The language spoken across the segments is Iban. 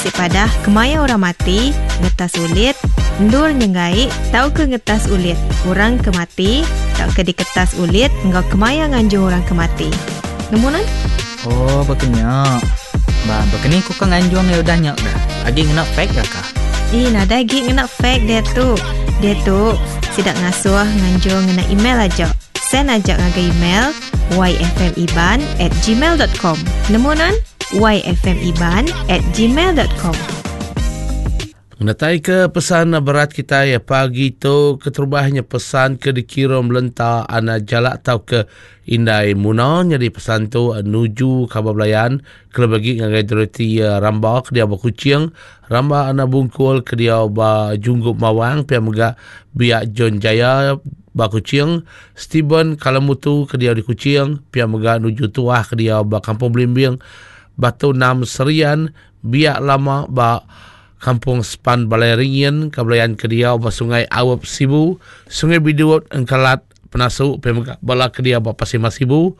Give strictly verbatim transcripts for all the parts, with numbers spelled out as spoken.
bisi padah kemaya orang mati, ngetas ulit, endur nyenggai tauka ngetas ulit orang ke mati tauka diketas ulit enggau kemaya nganjung orang ke mati. Nemu nan? Oh, bekenya. Ba, bekeni ku ke nganjung ya udah nya dah. Agi ngena fax ya kah? Ih, nadai agi ngena fax dia tu. Dia tu sidak ngasuh nganjung ngena email aja. Send aja ngagai email y f m iban at gmail dot com. Nemu nan? y f m iban at gmail dot com. Ngetai ke pesan berat kita ya pagi tu keterubahnya pesan ke dikirim lenta anak jalak tau ke Indai Muna jadi pesan tu nuju kabar belayan kelebih lagi ngagai Dorothy Ramba ke dia ba Kuching, Ramba anak Bungkul ke dia ba Junggup Mawang, pia mega Biak John Jaya ba Kuching, Steven Kalamutu ke dia di Kuching, pia mega nuju Tuah ke dia ba Kampung Belimbing, Batu Enam Serian, Biak Lama ba Kampung Sepan Balai Ringin, Kabelayan ke dia ba Sungai Awep Sibu, Sungai Biduot Engkalat Penasu, pia mega bala ke dia ba Pasir Mas Sibu,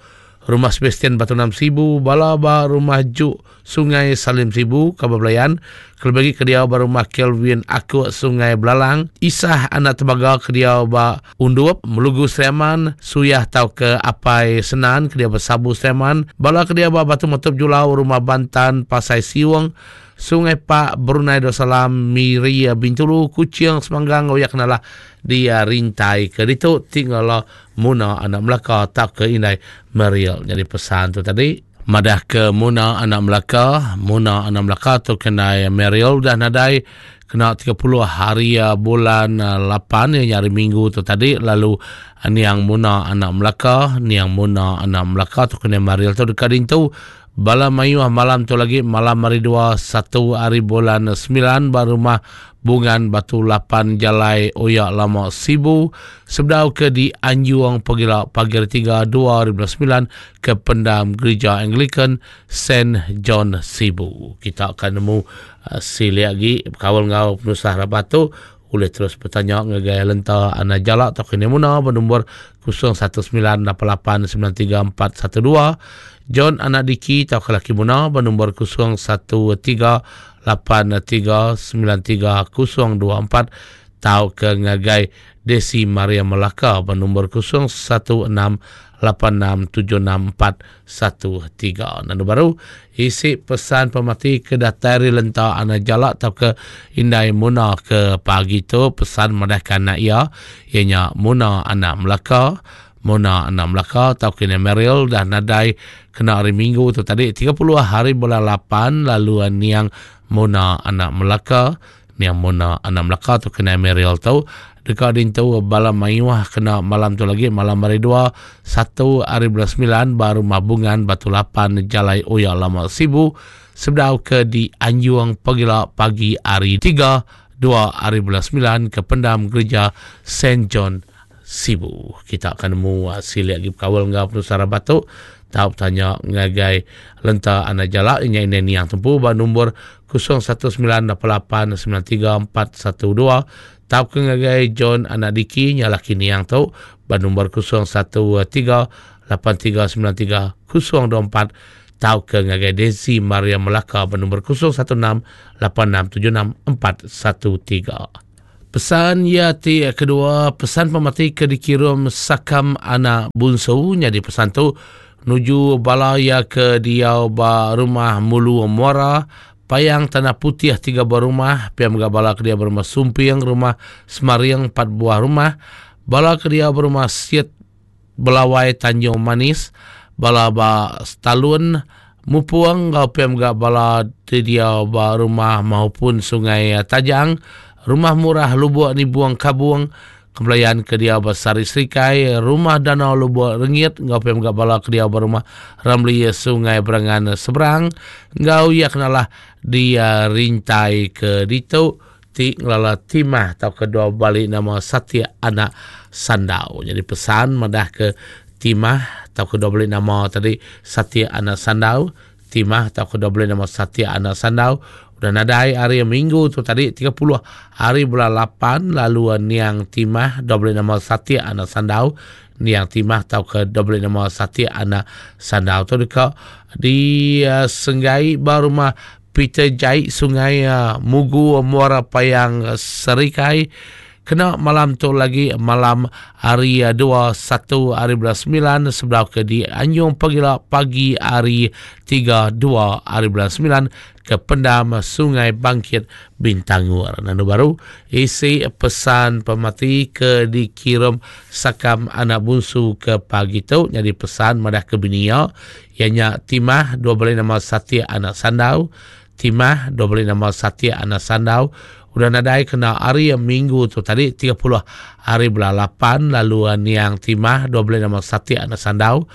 Rumah Sebastian Batu Enam Sibu, bala ba Rumah Juk Sungai Salim Sibu, Kabelayan, kelebih lagi ke dia ba Rumah Kelvin Akuk Sungai Belalang, Isah anak Tembaga ke dia ba Undup, Melugu Seriaman, Suyah tau ke Apai Senan ke dia ba Sabu Seriaman, bala ke dia ba Batu Metup Julau, Rumah Bantan Pasai Siung, Sungai Pak, Brunei Darussalam, Miri, Bintulu, Kuching, Semanggang, oyak kenalah dia rintai ke ditu tinggal Muna anak Melaka tak ke Indai Meriel. Jadi pesan tu tadi madah ke Muna anak Melaka, Muna anak Melaka tu kenai Meriel dah nadai kena tiga puluh hari bulan lapan yang hari Minggu tu tadi, lalu niang Muna anak Melaka, niang Muna anak Melaka tu kenai Meriel tu dekat dintu bala mayuh malam tu lagi malam hari dua satu hari bulan sembilan baru rumah Bungan Batu Lapan Jalai Oyak Lama Sibu sebedau ke di Anjuang Pegila pagi hari tiga dua ribu sembilan ke pendam Gereja Anglican Saint John Sibu. Kita akan nemu uh, sili lagi kawal ngau penusah rabat tu boleh terus bertanya ngagai lenta anak jalak atau kini muna bernombor kosong satu sembilan lapan lapan sembilan tiga empat satu dua. John anak Diki atau lelaki muna bernombor kosong satu tiga lapan tiga sembilan tiga kosong dua empat tau ke ngagai Desi Maria Melaka bernombor kosong satu enam lapan enam tujuh enam empat satu tiga. Nanti baru isi pesan pemati ke datari lenta anak jalak atau ke Indai Muna ke pagi tu pesan madahkan anak ia ianya Muna anak Melaka, Muna anak Melaka atau ke Meril dah nadai kena hari Minggu tu tadi tiga puluh hari bulan lapan lalu niang Muna anak Melaka, niang Muna anak Melaka tu kena Meril tu dekat dintu bala mayuah kena malam tu lagi malam hari dua satu hari bulan sembilan baru mabungan Batu Lapan Jalai Oya Lama Sibu sebedau ke di Anjuang Pegila pagi hari tiga dua hari bulan sembilan ke pendam Gereja Saint John Sibu. Kita akan nemu silik lagi kawal ngau penusara batuk tau tanya ngagai lenta anak jalak ini ini niang tempu ba nombor kosong satu sembilan lapan lapan sembilan tiga empat satu dua tau ke ngagai John anak Diki nyalaki niang tu ba nombor kosong satu tiga lapan tiga sembilan tiga kosong dua empat tau ke ngagai Desi Maria Melaka ba nombor kosong satu enam lapan enam tujuh enam empat satu tiga. Pesan ya ti kedua pesan pemati ke dikirim Sakam anak Bunsu jadi pesan tu nuju balaya ke diau ba rumah Mulu Muara Payang Tanah Putih tiga buah rumah, pia mega bala ke dia berumah Sumping, rumah Semariang empat buah rumah, bala ke dia berumah Siet Belawai Tanjung Manis, bala ba Stalun Mupuang ngau pia mega bala di dia ba rumah maupun Sungai Tajang, rumah murah Lubuk Nibuang Kabung, kembalian ke dia Basari Serikai, rumah Danau Lubuk Rengit, ngau pem gak bala ke dia berumah Ramli Sungai Berangan Seberang, ngau ia kenalah dia rintai ke ditu ti ngelala timah atau kedua balik nama Satya anak Sandau. Jadi pesan madah ke timah atau kedua balik nama tadi Satya anak Sandau, timah atau kedua balik nama Satya anak Sandau. Udah nadai hari Minggu tu tadi tiga puluh hari bulan lapan lalu niang timah double nama Satya anak Sandau, niang timah atau ke double nama Satya anak Sandau tu dekat di uh, Senggai baru rumah Peter Jai Sungai Mugu Muara Payang Serikai kena malam tu lagi malam hari dua satu hari bulan sembilan sebelah ke di Anjung Pagila pagi hari tiga dua hari bulan sembilan ke Pendam Sungai Bangkit Bintangur. Nandu baru isi pesan pemati ke dikirim sakam anak bungsu ke pagi tu jadi pesan madah ke binia ianya Timah dua beli nama Satya anak Sandau. Timah dua beli nama Satya anak Sandau udah nadai kena hari minggu tu tadi tiga puluh hari bulan lapan lalu niang Timah dua beli nama Satya anak Sandau.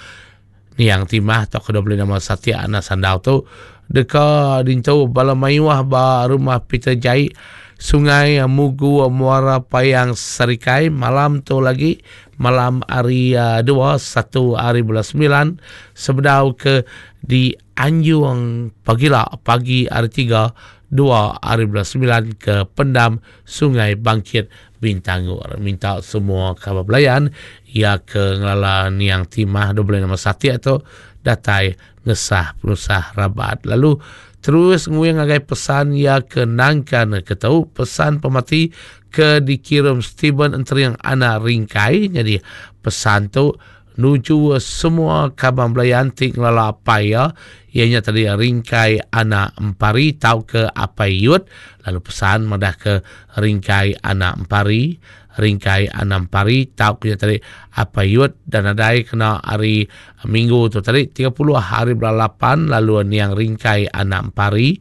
Niang Timah atau kedua beli nama Satya anak Sandau tu deka dintu bala mayuah ba rumah Peter Jai Sungai Mugu Muara Payang Serikai malam tu lagi malam hari dua satu hari bulan sembilan sebedau ke di Anjung Pagila pagi hari tiga dua hari bulan sembilan ke Pendam Sungai Bangkit Bintangur. Minta semua kabar belayan ia ke ngelala niang Timah dua nama Satya tu datai ngesah penusah rabat. Lalu terus nguyang ngagai pesan ia ke nangkan ke tau pesan pemati ke dikirim Steven Enteriang anak Ringkai. Jadi pesan tu nuju semua kaban belayan ti ngelala apai ya ianya tadi Ringkai anak Empari tau ke apai Yut. Lalu pesan madah ke Ringkai anak Empari, Ringkai anak Empari tau ke tadi apai Yut dan adai kena hari minggu tu tadi tiga puluh hari bulan lapan lalu niang Ringkai anak Empari,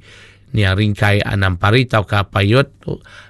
niang Ringkai anak Empari tau ke apai Yut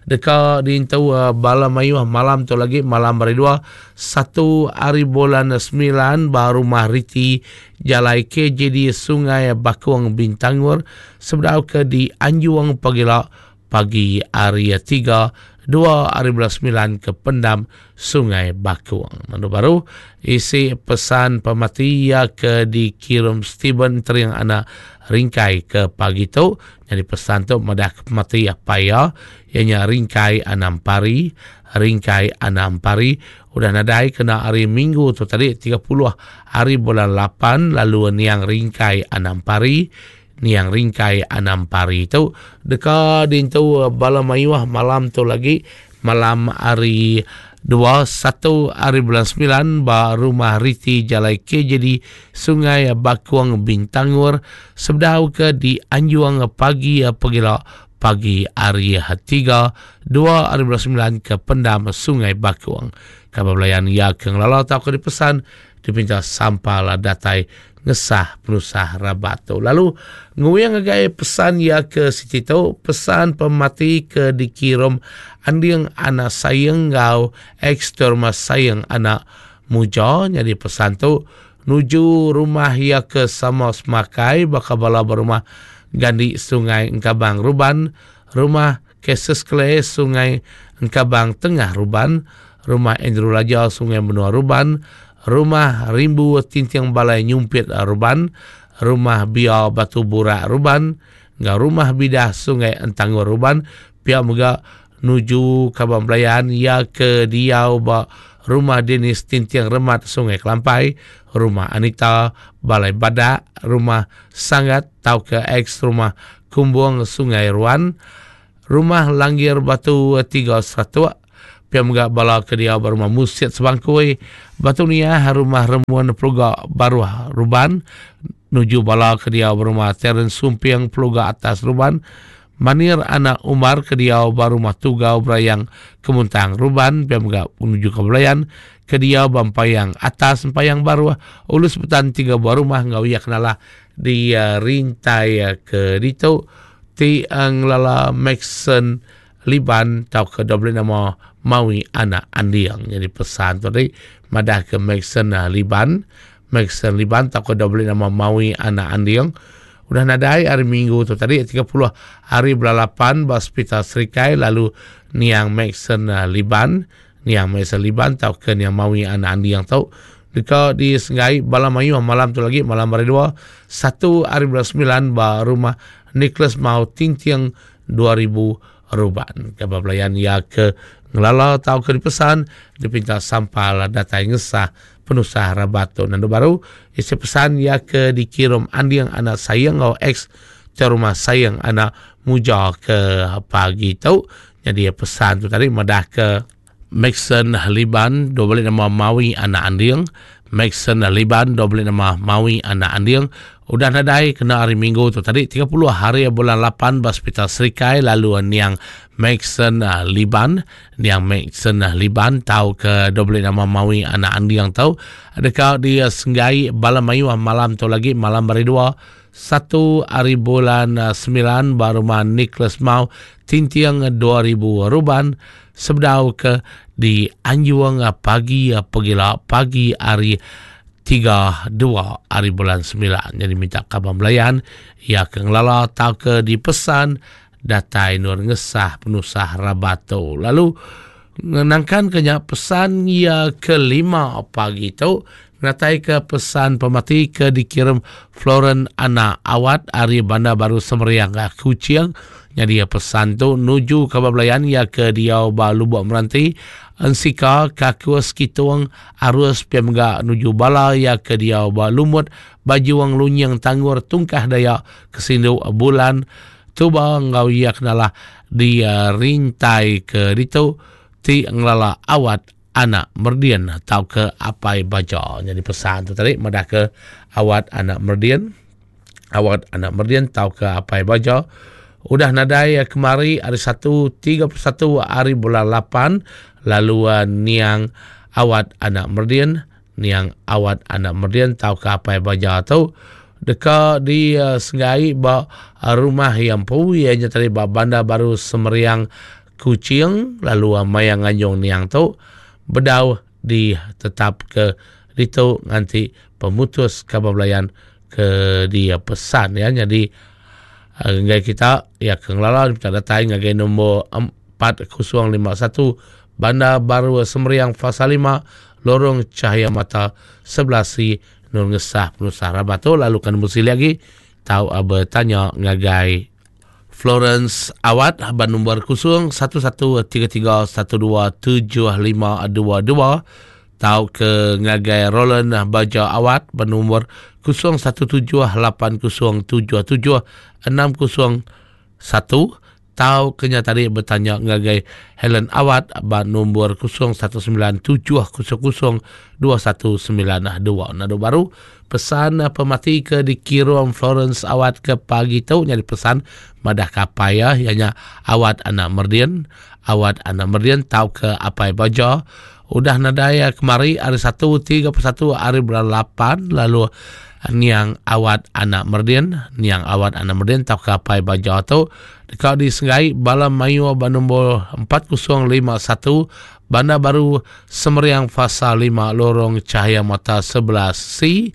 deka diintu uh, bala mayuh malam tu lagi malam hari dua satu hari bulan sembilan baru rumah Riti Jalai K J D Sungai Bakung Bintangur sebedau ke di Anjuang Pagila pagi hari tiga dua hari bulan sembilan ke Pendam Sungai Bakung. Mandu baru isi pesan pemati ya ke dikirim Steven Teriang anak Ringkai ke pagi tu. Jadi pesan tu madah ke pemati apa ya ianya Ringkai anak Pari, Ringkai anak Pari udah nadai kena hari Minggu tu tadi tiga puluh hari bulan lapan lalu niang Ringkai anak Pari, niang Ringkai anak Pari tu deka dintu bala mayuah malam tu lagi malam hari dua satu hari bulan sembilan ba rumah Riti Jalai K J D Sungai Bakuang Bintangur sebedau ke di Anjuang pagi pegila pagi hari tiga dua hari bulan sembilan ke Pendam Sungai Bakuang. Kabar belayan ya ke ngelala tau ke dipesan dipinta sampal datai ngesah penusah rabat tu. Lalu nguyang ngagai pesan ya ke siti tu pesan pemati ke dikirim anding anak sayang ngau eksterma sayang anak muja. Jadi pesan tu nuju rumah ya ke sama semakai bakal bala berumah Gandi Sungai Engkabang Ruban, rumah Keses Kle Sungai Engkabang Tengah Ruban, rumah Andrew Laja Sungai Menua Ruban, rumah Rimbu Tintiang Balai Nyumpit Ruban, rumah Bia Batu Burak Ruban, ngau rumah Bidah Sungai Entangur Ruban. Pihak mega nuju Kabang Belayan ya ke diau ba rumah Denis Tintiang Remat Sungai Kelampai, rumah Anita Balai Badak, rumah Sangat tau ke ex rumah Kumbung Sungai Ruan, rumah Langgir Batu tiga Seratuk. Pihak mega bala ke dia berumah Musit Sebangkui, Batu Niah, rumah Remuan Peluga Baruah Ruban, nuju bala ke dia berumah Terence Sumpiang Peluga Atas Ruban, Manir anak Umar ke dia berumah Tugau Berayang Kemuntang Ruban, pihak mega menuju ke Belayan ke dia Bampayang Atas Empayang Baruah, Ulus Betan tiga buah rumah ngau ia kenalah di uh, rintai uh, ke ditu ti ngelala Maxon Liban tau ke double nama Mawi anak Andiang. Jadi pesan tu tadi madah ke Maxon Liban, Maxon Liban tau ke double nama Mawi anak Andiang udah nadai hari Minggu tu tadi tiga puluh hari bulan lapan ba Hospital Serikai lalu niang Maxon Liban, niang Maxon Liban tau ke niang Mawi anak Andiang tau deka di Senggai bala mayu malam tu lagi malam hari dua satu hari bulan sembilan ba rumah Nicholas Mau Tintiang dua ribu Ruban. Kabar belayan ya ke ngelala tau ke dipesan dipinta sampal datai ngesah penusah rabat tu. Nandu baru isi pesan ya ke dikirim andiang anak sayang ngau ex Rumah Sayang Anak Muja ke pagi tu. Jadi pesan tu tadi madah ke Maxon Liban dua balik nama Mawi Anak Anding. Maxon Liban dua balik nama Mawi Anak Anding udah nadai kena hari Minggu tu tadi tiga puluh hari bulan lapan ba Hospital Serikai. Lalu niang Maxon Liban, niang Maxon Liban tau ke dua balik nama Mawi Anak Anding tau dekat di Senggai Bala Mayuh malam tu lagi malam hari dua satu hari bulan sembilan baru rumah Nicholas Mau Tintiang dua ribu Ruban sebedau ke di Anjuang pagi pegila pagi hari tiga dua hari bulan sembilan. Jadi minta kabar belayan ya ke ngelala tau ke dipesan datai nur ngesah penusah rabato. Lalu ngenangkan kenya pesan ya kelima pagi tu natai ke pesan pemati ke dikirim Floren Anak Awat ari Bandar Baru Semeriang Kuching. Jadi pesan tu nuju kabar belayan ya ke diau ba Lubuk Meranti Ensika Kakus Kitung Arus Piamga nuju bala ya ke diau ba Lumut Bajuang Lunyang Tanggur Tungkah Dayak Kesindu Bulan Tuba ngau ya kenalah di rintai ke ditu ti ngelala Awat Anak Merdian atau ke Apai Baja. Jadi pesan tu tadi madah ke Awat Anak Merdian, Awat Anak Merdian atau ke Apai Baja udah nadai kemari hari satu tiga puluh satu hari bulan lapan. Lalu uh, niang Awat Anak Merdian, niang Awat Anak Merdian atau ke Apai Baja tu deka di uh, Senggai ba uh, rumah yang pu ianya tadi ba Bandar Baru Semeriang Kuching. Lalu uh, mayang nganjung niang tu bedau di tetap ke ditu nganti pemutus kabar belayan ke dia pesan ya. Jadi ngai kita ya ke ngelala minta datai ngagai nombor empat kosong lima satu Bandar Baru Semeriang Fasa lima Lorong Cahaya Mata sebelas C Nur Ngesah Penusah Rabato. Lalu kan mesti lagi tahu bertanya ngagai Florence Awat ban nombor kosong satu satu tiga tiga satu dua tujuh lima dua dua tau ke ngagai Roland Baja Awat ban nombor kosong satu tujuh lapan kosong tujuh tujuh enam kosong satu tau kenya tadi bertanya ngagai Helen Awat ban nombor kosong satu sembilan tujuh kosong kosong dua satu sembilan dua. Nado baru pesan pemati ke dikirim Florence Awat ke pagi tu nyari pesan madah kapaya ianya Awat Anak Merdian, Awat Anak Merdian tau ke Apai Baja udah nadai kemari hari satu tiga puluh satu hari bulan lapan. Lalu niang Awat Anak Merdian, niang Awat Anak Merdian tau ke Apai Baja tu dekat di Senggai Bala Mayu ban nombor empat kosong lima satu Bandar Baru Semeriang Fasa lima Lorong Cahaya Mata sebelas C.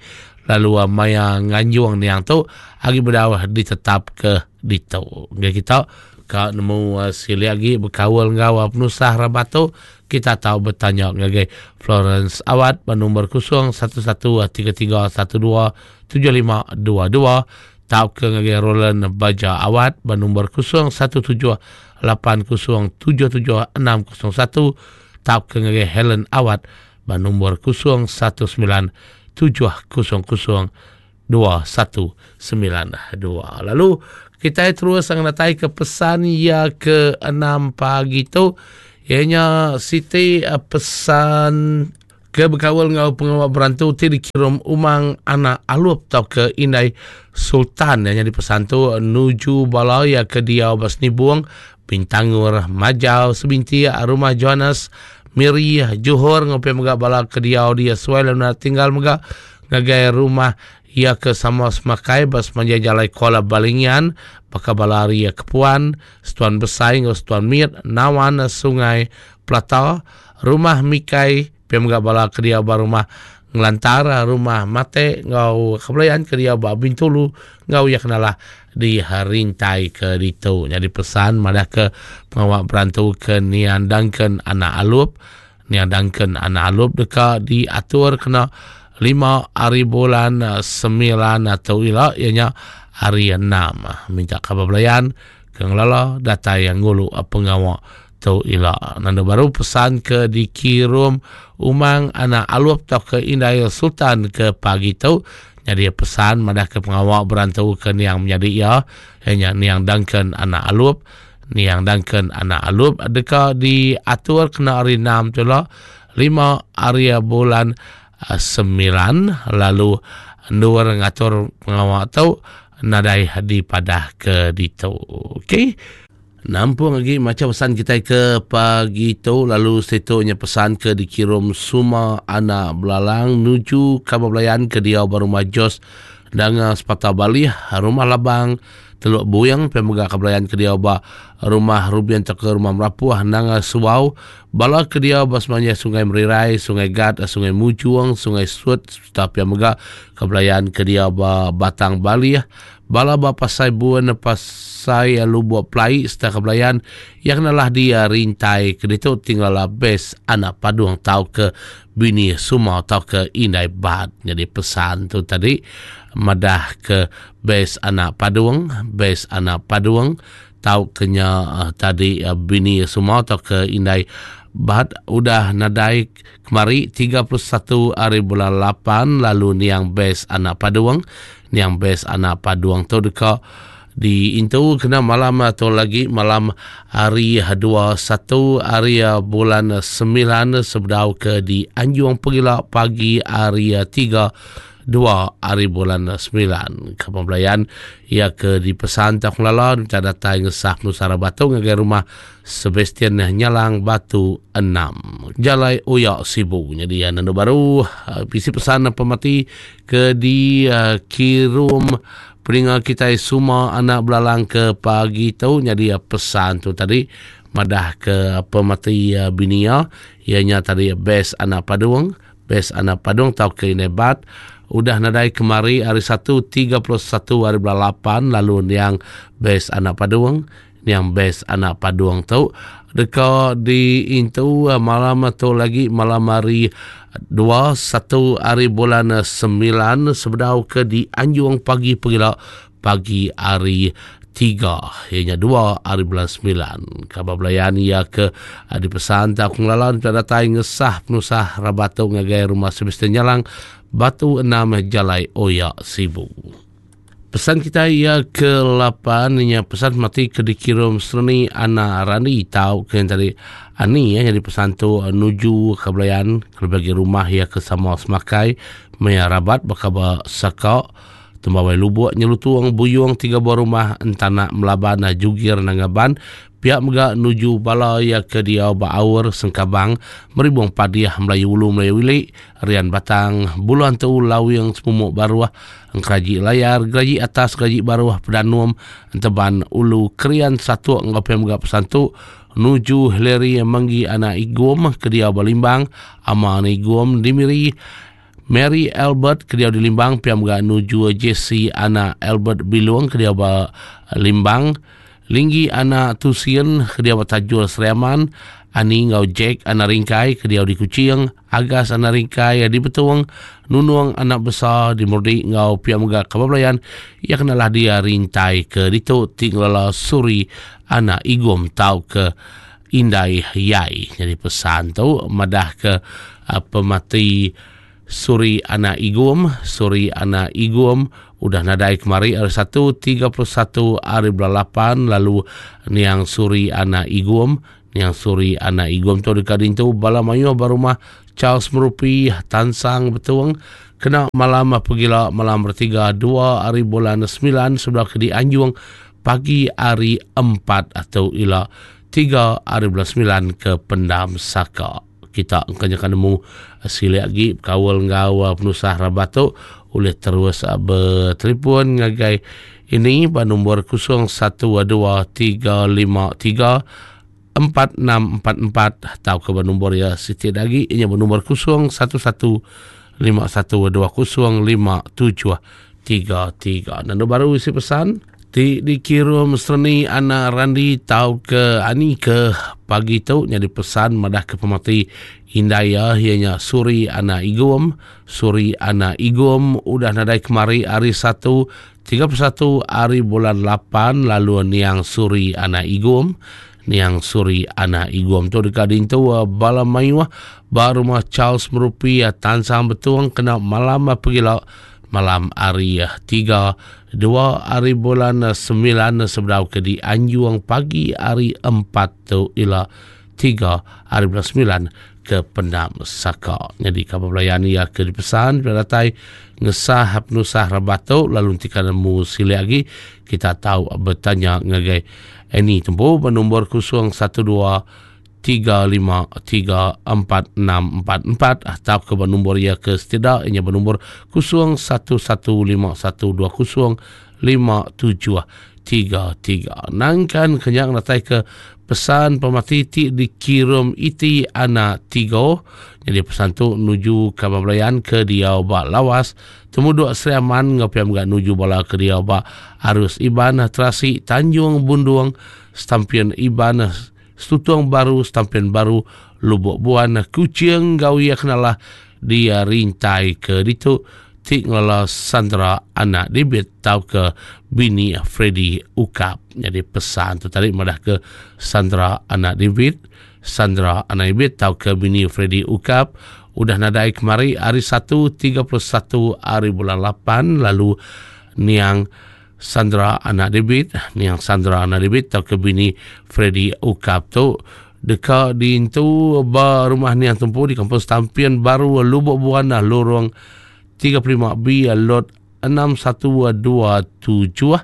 Lalu maya nganjuang niang tu agi bedawah ditetap ke ditu. Ngai kita ka nemu uh, sili agi berkawal ngau penusah rabato kita tahu bertanya ngagai Florence Awat ban nombor kosong satu satu tiga tiga satu dua tujuh lima dua dua tau ke ngagai Roland Baja Awat ban nombor kosong satu tujuh lapan kosong tujuh tujuh enam kosong satu tau ke ngagai Helen Awat ban nombor kosong satu sembilan tujuh kosong kosong dua satu sembilan dua. Lalu kita terus sangat ke pesan ya ke enam pagi tu ianya Siti pesan ke berkawal ngau pengawal berantu ti dikirim Umang Anak Alup tau ke Indai Sultan yang jadi pesan tu nuju balaya ke dia Basnibuang Bintangur Majau Sebinti rumah Johannes Miri Johor ngopi mega bala ke dia dia suai lalu tinggal mega ngagai rumah ia ke sama semakai bas manja jalai Kuala Balingian baka balari ya Kepuan Setuan Besai ngau Setuan Miet Nawan Sungai Plata rumah Mikai pemga bala ke dia ba rumah Ngelantara rumah Mate ngau kebelayan ke dia ba Bintulu ngau ya kenalah di rintai ke ditu. Jadi pesan madah ke pengawak berantu ke Nian Duncan Anak Alup, Nian Duncan Anak Alup deka diatur kena lima hari bulan sembilan atau ila ianya hari enam. Minta khabar belayan ke ngelala data yang ngulu pengawak tu ila. Nanda baru pesan ke dikirim Umang Anak Alup atau ke Indai Sultan ke pagi tu. Jadi pesan madah ke pengawak berantu ke niang menjadi ia, ianya niang Duncan anak Alup. Niang Duncan anak Alup deka diatur kena hari enam tu lah, lima hari bulan sembilan, lalu endur ngatur pengawak tu nadai dipadah ke ditu. Okey. Nampung lagi macam pesan kita ke pagi tu, lalu situnya pesan ke dikirim Suma anak Belalang nuju kabar belayan ke dia baru Majos dengan sepatah Bali rumah Labang Teluk Buyang pemegang kebelayan ke dia ba rumah Rubian ke rumah Merapuh Nanga Suau bala ke dia ba semuanya Sungai Merirai, Sungai Gat, Sungai Mujuang, Sungai Sut serta pemegang kebelayan ke dia ba Batang Bali bala ba Pasai Buan Pasai Lubuk Plai serta kebelayan yang nalah dia rintai ke ditu tinggal bes anak Padung tau ke bini Suma tau ke Indai Bat. Jadi pesan tu tadi madah ke bes anak Padung, bes anak Padung tau kenya uh, tadi uh, bini Suma tau ke Indai Bat udah nadai kemari tiga puluh satu hari bulan lapan, lalu niang bes anak Padung, niang bes anak Padung tu deka di intu kena malam atau lagi malam hari dua puluh satu hari bulan sembilan sebedau ke di Anjung Pegila pagi hari tiga dua hari bulan sembilan. Kepembelayan ia ke dipesan tak lala minta datang ngesah Nusara Batu ngagai rumah Sebastian Nyalang Batu enam Jalai Uyak Sibu. Jadi yang nando baru isi pesan pemati ke di uh, kirum peninga kita semua anak Belalang ke pagi tu. Jadi pesan tu tadi madah ke pemati binia ianya tadi bes anak Padung, bes anak Padung tau ke Inebat udah nadai kemari hari satu tiga puluh satu hari bulan lapan, lalu niang bes anak Padung, niang bes anak Padung tu deka di intu malam tu lagi malam hari dua satu hari bulan sembilan sebedau ke di Anjung pagi pegila pagi hari tiga ianya dua hari bulan sembilan. Kabar belayan ia ke dipesan tak ngelalan tak datang ngesah penusah rabatu ngagai rumah Sebastian Nyalang Batu enam Jalai Oyak Sibu. Pesan kita ia ke lapan ianya pesan mati ke dikirim Serni anak Rani tau ke yang tadi ani ya jadi pesan tu nuju ke belayan ke bagi rumah ia ke sama semakai maya rabat bakaba saka tembawai lubuk nyelutuang buyung tiga buah rumah entana melaban jugir nangaban pihak mega nuju bala ya ke dia baur sengkabang meribung padiah Melayu Ulu Melayu Wili Rian Batang Buluan tu Lawing Semumuk Baruah Engkeraji Layar Geraji Atas Geraji Baruah Pedanum Enteban Ulu Krian satu ngopem mega pesan tu nuju Hillary Menggi anak Igum ke dia Balimbang ama anak Igum Dimiri Mary Albert ke dia di Limbang pihak mega nuju Jesse anak Albert Bilung ke dia Limbang Linggi anak Tusien ke dia Tajul Seriaman Ani ngau Jack anak Ringkai ke dia di Kuching Agas anak Ringkai di Betuang Nunung anak besar di Murdi ngau pihak mega Kabablayan ia kenalah dia rintai ke ditu tinggallah Suri anak Igum tau ke Indai Yai. Jadi pesan tu madah ke uh, pemati Suri anak Igum, Suri anak Igum udah nadai kemari hari satu tiga puluh satu hari bulan lapan, lalu niang Suri anak Igum, niang Suri anak Igum tu dekat dintu bala mayu barumah Charles Merupi Tansang Betuang kena malam pergila malam bertiga dua hari bulan sembilan sebelah ke di Anjung pagi hari empat atau ila tiga hari bulan sembilan ke Pendam Saka. Kita engkanyakan nemu silik lagi kawal ngau penusah rabatuk oleh terus bertelefon ngagai ini pada nombor kosong satu dua tiga lima tiga empat enam empat empat atau ke nombor ya Siti lagi ini bernombor kosong satu satu lima satu dua kosong lima tujuh tiga tiga. Dan baru isi pesan di dikirim Serni anak Randi tau ke ani ke pagi tu jadi pesan madah ke pemati Indaya ianya Suri anak Igum, Suri anak Igum udah nadai kemari hari satu tiga puluh satu hari bulan lapan, lalu niang Suri anak Igum, niang Suri anak Igum tu dekat dintu bala mayuah ba rumah Charles Merupi Tansang Betuang kena malam pergila Malam hari tiga dua hari bulan sembilan sebedau ke di Anjuang pagi hari empat tu ila tiga hari bulan sembilan ke Pendam Saka. Jadi kabar belayan ia ke dipesan bila datai ngesah penusah rabat tu lalu nanti kan nemu silik lagi kita tahu bertanya ngagai Annie tempuh bernombor kosong satu dua tiga lima tiga empat enam empat empat atau ke nombor ia ke setidaknya bernombor kosong satu satu lima satu dua kosong lima tujuh tiga tiga. Nangkan kenyang datai ke pesan pemati ti dikirim iti anak tiga. Jadi pesan tu nuju kabar belayan ke dia ba lawas temuduk Sri Aman ngapiam gak nuju bala ke dia ba Arus Iban Terasi Tanjung Bundung Stampian Iban Stutung Baru Stampian Baru Lubuk Buan Kucing Gawia kenalah dia rintai ke ditu tik ngelola Sandra anak debit tau ke bini Freddy Ukap. Jadi pesan tu tadi madah ke Sandra anak debit, Sandra anak debit tau ke bini Freddy Ukap udah nadai kemari hari satu tiga puluh satu hari bulan lapan lalu niang Sandra anak debit, niang Sandra anak debit tau ke bini Freddy Ukap tu deka diintu ba rumah niang tempu di kampung Stampian Baru Lubuk Buan lorong tiga puluh lima B lot enam satu dua tujuh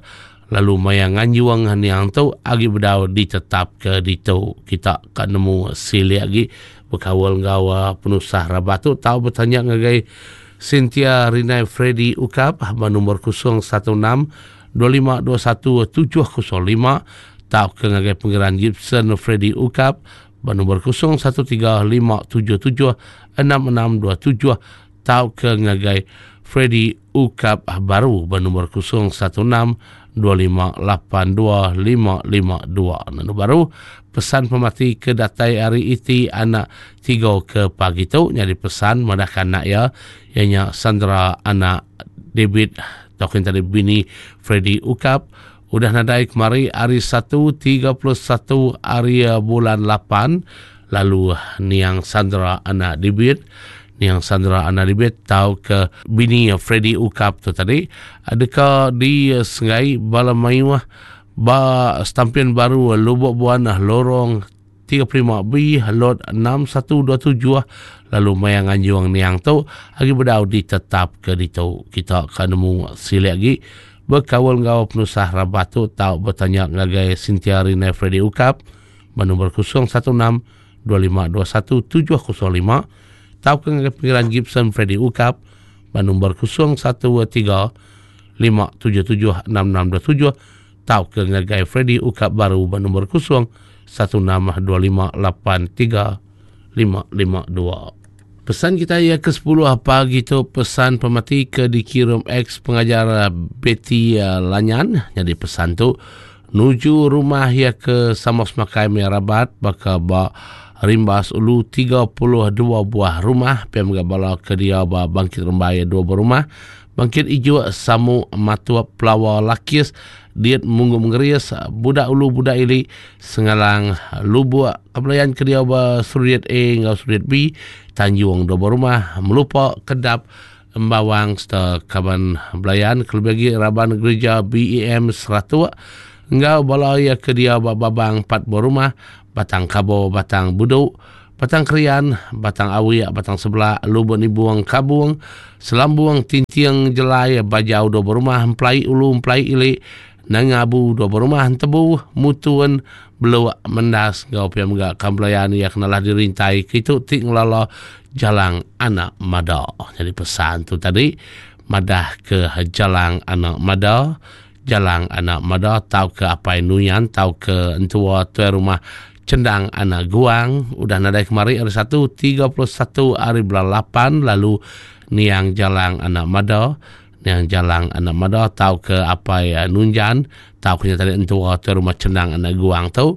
lalu maya nganjuang niang tu agi bedau ditetap ke ditu. Kita ka nemu silik agi bekawal ngau penusah rabat tu tau bertanya ngagai Cynthia Rinai Freddy Ukap ba nombor kosong satu enam dua lima dua satu tujuh kosong lima tau ke ngagai Pengiran Gibson Freddy Ukap ba nombor kosong satu tiga lima tujuh tujuh enam enam dua tujuh tau ke ngagai Freddy Ukap baru bernombor kosong satu enam dua lima lapan dua lima lima dua. Nanu baru pesan pemati ke datai hari iti anak tiga ke pagi tu jadi pesan madahkan anak ya ianya Sandra anak David token tadi bini Freddy Ukap udah nadai kemari hari satu tiga puluh satu hari bulan lapan lalu niang Sandra anak David niang Sandra anak David tau ke bini Freddy Ukap tu tadi adakah di Sengai Bala Mayuah ba Stampian Baru Lubuk Buan lorong tiga puluh lima B lot enam satu dua tujuh lalu maya nganjuang niang tu agi bedau ditetap ke ditu. Kita akan nemu silik lagi berkawal ngau penusah rabat tu tau bertanya ngagai Cynthia Rina Freddy Ukap bernombor kosong satu enam dua lima dua satu tujuh kosong lima tau ke ngagai Pengiran Gibson Freddy Ukap bernombor kosong satu tiga lima tujuh tujuh enam enam dua tujuh tau ke ngagai Freddy Ukap baru bernombor kosong satu enam dua lima lapan tiga lima lima dua. Pesan kita ya ke sepuluh pagi tu pesan pemati ke dikirim ex pengajar Betty Lanyan. Jadi pesan tu nuju rumah ya ke Samos Makai Merabat baka ba Rimbas Ulu tiga puluh dua buah rumah P M Gabala ke dia ba Bangkit Rembai dua buah rumah Bangkit Ijo Samu Matua Pelawa Lakis Diet Munggu Mengerias Budak Ulu Budak Ili Sengalang Lubuk Kebelayan ke dia ba Suriat A ngau Suriat B Tanjung dua buah rumah Melupa Kedap Embawang serta Kaban Belayan kelebih lagi Raban Gereja B E M Seratuk ngau bala ya ke dia ba Babang empat buah rumah Batang Kabo, Batang Buduk, Batang Krian, Batang Awi, Batang Sebelah, Lubuk Nibuang Kabung, Selambung, Tintiang Jelai, Bajau dua buah rumah, Emplai Ulu, Emplai Ili, Nangabu dua buah rumah, Tebu, Mutun, Beluak, Mendas, ngau pia megak kambelayan ya kenalah dirintai, kitu tik ngelala Jalang Anak Mada. Jadi pesan tu tadi, madah ke Jalang Anak Mada, Jalang Anak Mada, tau ke Apai Nuyan, tau ke entua tuan rumah Cendang Anak Guang, udah nadai kemari hari satu, tiga puluh satu hari bulan lapan, lalu niang Jalang Anak Mada, niang Jalang Anak Mada, tau ke Apai Nunjan, tau ke tadi entua tuan rumah Cendang Anak Guang tu,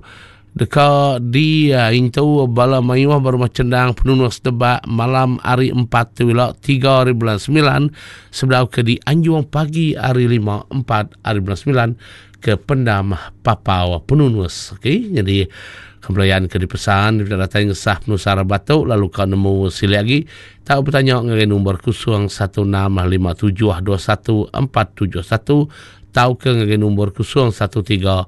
deka di uh, intu bala mayuah berumah Cendang penunus debak malam hari empat tu wilak tiga hari bulan sembilan, sebelah ke di Anjuang pagi hari lima empat hari bulan sembilan ke pendam Papau Penunus. Okey, jadi kebelayan ke dipesan dia datang ngesah penusah batu lalu kau nemu silik lagi tak bertanya ngagai nombor kosong satu enam lima tujuh dua satu empat tujuh satu tau ke ngagai nombor kosong satu tiga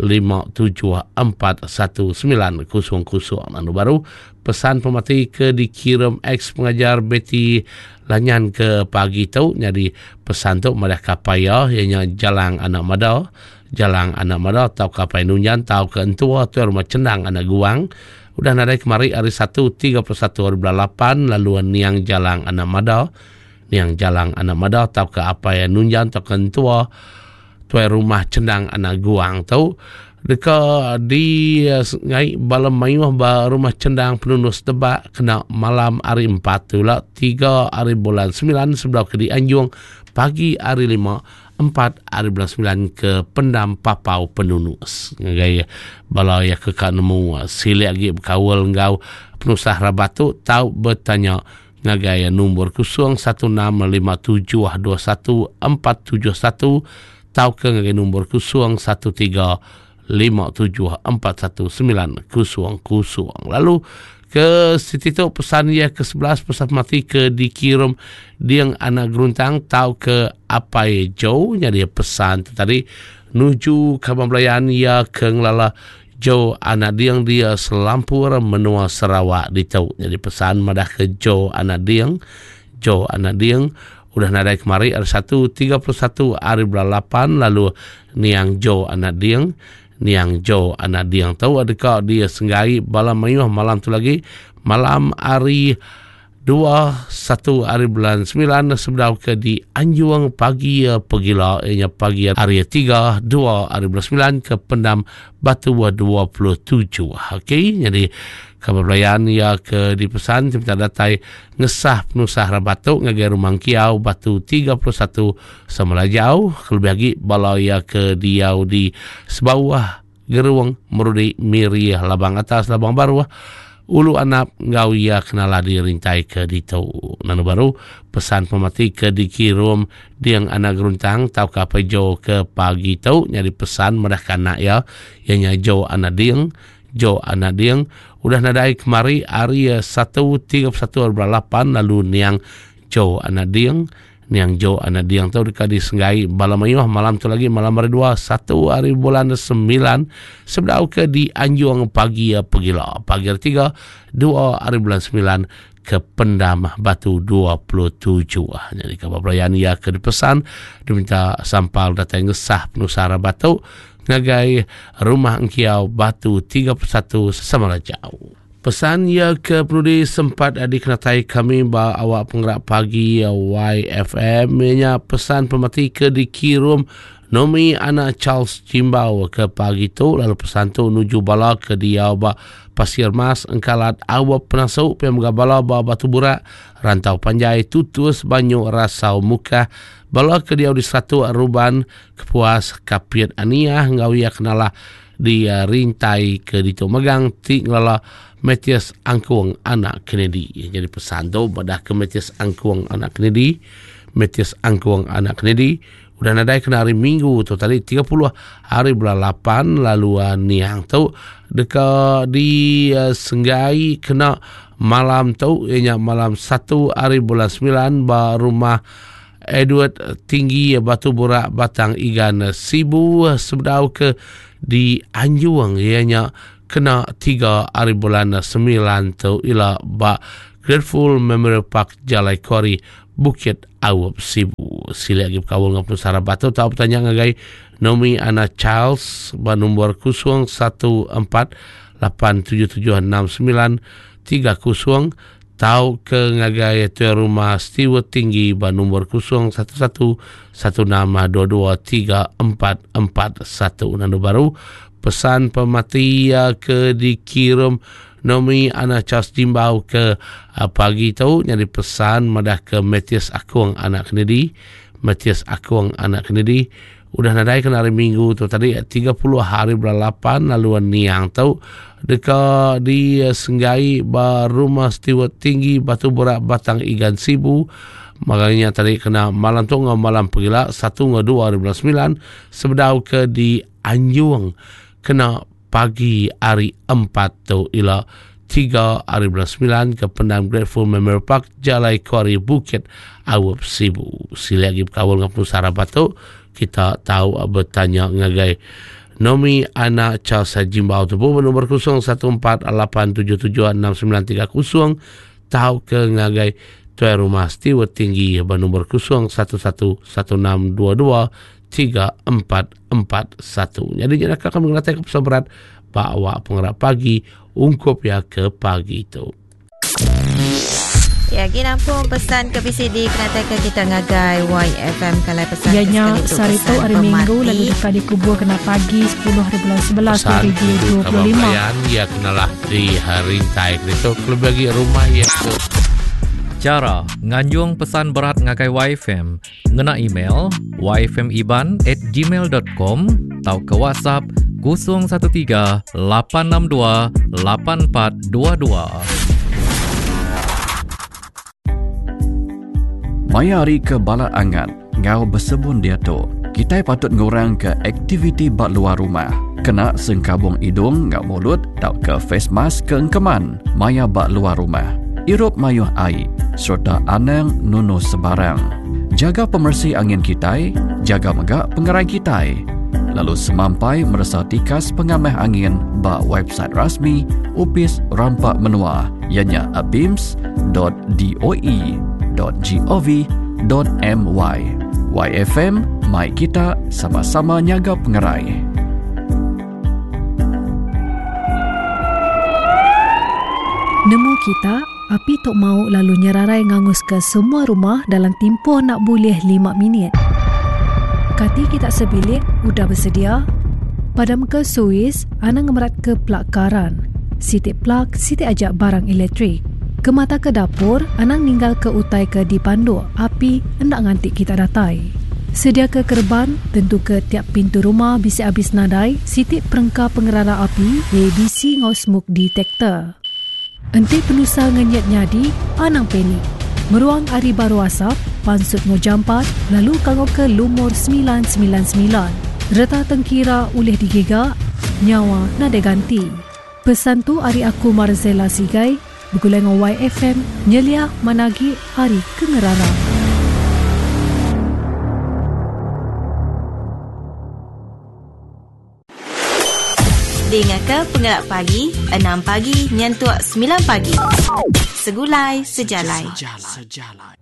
lima tujuh empat satu sembilan kosong kosong. Anu baru pesan pemati ke dikirim ex pengajar Betty Lanyan ke pagi tu. Jadi pesan tu madah kapaya ianya Jalang Anak Mada, Jalang Anak Mada tau kapai Nunyan tau ke entua tu rumah Cendang Anak Guang. Udah nadai kemari hari satu tiga puluh satu hari bulan lapan lalu niang Jalang Anak Mada, niang Jalang Anak Mada tau ke apai Nunyan tau ke entua tuai rumah Cendang Anak Guang tu deka di ngai bala mayuh ba rumah Cendang Penunus Debak kena malam hari empat tu lah tiga hari bulan sembilan sebelah ke di Anjung pagi hari lima empat hari bulan sembilan ke Pendam Papau Penunus. Ngagai bala ya ke ka nemu silik lagi berkawal ngau penusah rabat tu tau bertanya ngagai nombor kosong satu enam lima tujuh dua satu empat tujuh satu tau ke ngagai nombor kosong satu tiga lima tujuh empat satu sembilan kosong kosong. Lalu ke situ tu pesan ia ke sebelas pesan mati ke dikirim Diang Anak Geruntang tau ke Apai Jo. Jadi pesan tu tadi nuju kaban belayan ia ke ngelala Jo Anak Diang dia selampur menua Sarawak ditu. Jadi pesan madah ke Jo Anak Diang, Jo Anak Diang udah nadai kemari hari satu tiga puluh satu hari bulan lapan lalu niang Jo Anak Diang, niang Jo Anak Diang tahu adakah dia senggai bala mayuh malam tu lagi malam hari dua satu hari bulan sembilan sebelah ke di Anjuang pagi pegila ianya pagi hari tiga dua hari bulan sembilan ke Pendam Batu dua puluh tujuh. Okey, jadi kabar belayan ya ke dipesan minta datai ngesah penusah rabatuk ngagai rumah Kiau Batu tiga puluh satu Semelajau lebih lagi bala ya ke diau di sebawah Geruang Merudi Miri Labang Atas Labang Baruah Ulu Anap ngau ia kenala dirintai ke ditu. Nanu baru pesan pemati ke dikirim Diang Anak Geruntang tau ke apa Jo ke pagi tu nyari pesan madah kanak ya ianya Jo Anak Diang, Jo Anak Diang udah nadai kemari hari satu tiga puluh satu hari bulan lapan lalu niang Jo Anak Diang, niang Jo Anak Diang tu dekat disenggai bala mayuh malam tu lagi malam hari dua satu hari bulan sembilan sebelah ke di Anjuang pagi pegila pagi hari tiga dua hari bulan sembilan ke Pendam Batu dua puluh tujuh. Jadi kabar pelayan ia ke dipesan diminta sampal datang ngesah penusara batu ngagai rumah Engkiau Batu tiga puluh satu Semalajau. Pesan ia ke penudi sempat dikenatai kami ba awak penggerak pagi Y F M nya pesan pemati ke dikirim Nomi anak Charles Jimbau ke pagi tu lalu pesan tu nuju bala ke dia ba Pasir Mas Engkalat Awak Penasuk P M Gabala ba Batu Burak Rantau Panjai Tutus Banyu Rasau Muka bala ke dia di satu Ruban Kepuas Kapit Aniah ngau ia kenalah di uh, rintai ke ditu megang ti ngelala Matthias Angkuang Anak Kennedy. Jadi pesan tu pada ke Matthias Angkuang Anak Kennedy, Matthias Angkuang Anak Kennedy udah nadai kena hari Minggu tu tadi tiga puluh hari bulan lapan lalu uh, niang tu deka di uh, Senggai kena malam tu ianya malam satu hari bulan sembilan ba rumah Edward Tinggi Batu Burak Batang Igan Sibu sebedau ke di Anjuang ianya kena tiga hari bulan sembilan tu ila ba Grateful Memorial Park Jalai Kori Bukit Awap Sibu. Sila lagi berkawal dengan penusara batu tau bertanya ngagai Nomi Ana Charles ba nombor kosong satu empat lapan tujuh tujuh enam sembilan tiga kosong tau ke ngagai tuan rumah Stewart Tinggi ba nombor kosong satu satu satu enam dua dua tiga empat empat satu. Nando baru pesan pemati ke dikirim Nomi Ana Charles Jimbau ke pagi tu nyari pesan madah ke Matthias Akuang Anak Kennedy, Matthias Akuang Anak Kennedy udah nadai kena hari Minggu tu tadi tiga puluh hari bulan lapan lalu niang tu deka di Senggai ba rumah Stewart Tinggi Batu Burak Batang Igan Sibu Makanya tadi kena malam tu ngau malam pegila satu ngau dua hari bulan sembilan sebedau ke di Anjung kena pagi hari empat tu ila tiga hari bulan sembilan ke Pendam Grateful Memorial Park Jalai Kuari Bukit Awap Sibu. Sila lagi berkawal dengan penusah rabat tu kita tahu bertanya ngagai Nomi anak Charles Jimbau tu pun nombor kosong satu empat lapan tujuh tujuh enam sembilan tiga kosong tahu ke ngagai tuan rumah Stewart Tinggi bernombor kosong satu satu satu enam dua dua tiga empat empat satu. Jadi jangan kami mengelatih ke pesan berat bawa pengerak pagi ungkup ya ke pagi itu. Ya, gini pun pesan ke B C D kena teka kita ngagai Y F M kalau pesan ya, nya sehari tu hari Minggu lalu dekat dikubur kena pagi sepuluh hari bulan sebelas dua ribu dua puluh lima. Ya kenalah di hari tai itu lebih bagi rumah ya tu. Cara nganjung pesan berat ngagai Y F M ngena email y f m iban at gmail dot com atau ke WhatsApp kosong satu tiga lapan enam dua lapan empat dua dua. Maya hari ke bala angat ngau bersebun dia tu. Kita patut ngurang ke aktiviti bak luar rumah. Kena sengkabung hidung ngau mulut tau ke face mask ke engkeman maya bak luar rumah. Irup mayuh air serta anang nunu sebarang. Jaga pemersi angin kitai, jaga megak pengerai kitai. Lalu semampai merasa tikas pengamah angin bak website rasmi Upis Rampak Menua ianya abims dot d o e dot gov dot m y. Y F M, mai kita sama-sama nyaga pengerai. Nemu kita, api tok mau lalu nyerarai ngangus ke semua rumah dalam tempoh nak boleh lima minit. Kati kita sebilik udah bersedia. Padam ke suis, anang ngemerat ke plak karan. Sitik plak, sitik ajak barang elektrik. Ke mata ke dapur, anang ninggal ke utai ke dipanduk, api hendak ngantik kita datai. Sedia ke kerban, tentu ke tiap pintu rumah bisi habis nadai, sitik perengka pengerara api, A B C ngau smoke detector. Enti penusa ngenyet nyadi, anang panik. Meruang ari baru asap, pansut ngau jampat, lalu kangau ke lumur sembilan sembilan sembilan. Reta tengkira ulih digiga, nyawa nadai ganti. Pesan tu ari aku Marzela Sigai, bergulai dengan Y F M, nyelia managi hari kengerara. Dengar ke Pengelak Pagi, enam pagi nyentuk sembilan pagi. Segulai sejalai. Sejalai.